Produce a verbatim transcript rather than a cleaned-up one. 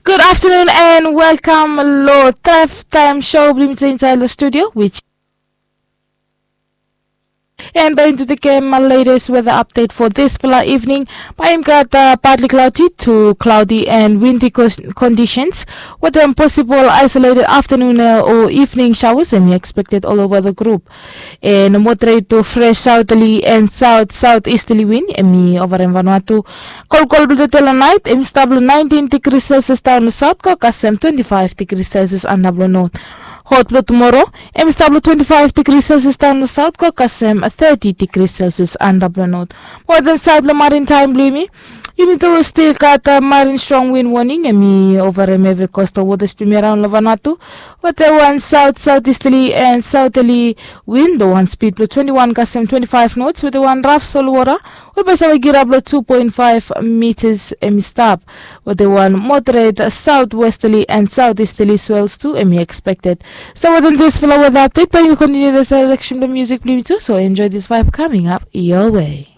Good afternoon and welcome lo Tref Time Show blong yumi tu insaed lo studio, which and bae yumi tu tekem latest weather update for this fala evening. Bae yumi gat partly cloudy to cloudy and windy conditions with a possible isolated afternoon or evening showers and expected all over the group. And moderate to fresh southerly and south southeasterly wind em i overem Vanuatu. Kolkol blong tete long naet em i stap long nineteen degrees Celsius daon long south go kasem twenty-five degrees Celsius antap long north. Hot blong tumoro em i stap long twenty-five degrees Celsius daon long south go kasem thirty degrees Celsius antap long north. Wetem saed blong marin taem blong yumi, yumi tu stil gat marin strong wind warning em i overem evri coastal waters blong yumi araon long Vanuatu. Wetem wan south southeasterly and southerly wind blong wan speed blong twenty-one kasem twenty-five knots wetem wan raf solwota we bae save girap long two point five meters em i stap wetem wan moderate southwesterly and southeasterly swells tu em i expected. So wetem disfala weather update bae yumi continue the selection blong music blong yumi tu, so enjoy this vibe coming up your way.